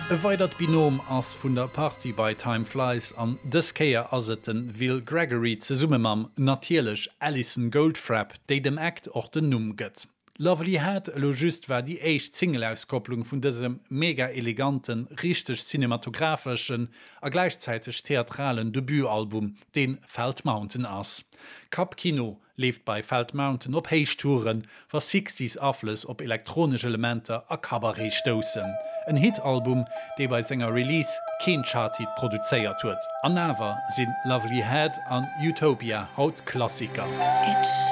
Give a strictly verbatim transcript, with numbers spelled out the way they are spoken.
E weidert Binom ass vun der Party bei Time Flies an dës Kéier ass et de Will Gregory zesumme mam natierlech Alison Goldfrapp, déi dem Act och den Numm gëtt. Lovely Head elo just war déi éischt Single-Auskopplung vun dësem mega eleganten, richteg cinematographeschen a gläichzäiteg theatralen Debutalbum, deen Felt Mountain ass. Kappkino leeft bei Felt Mountain op Héichtouren, wa sechzeger Aflëss op elektronesch Elementer a Cabaret stoussen. En Hitalbum, dee bei senger Release keen Charthit produzéiert huet. An awer sinn Lovely Head an Utopia haut Klassiker. It's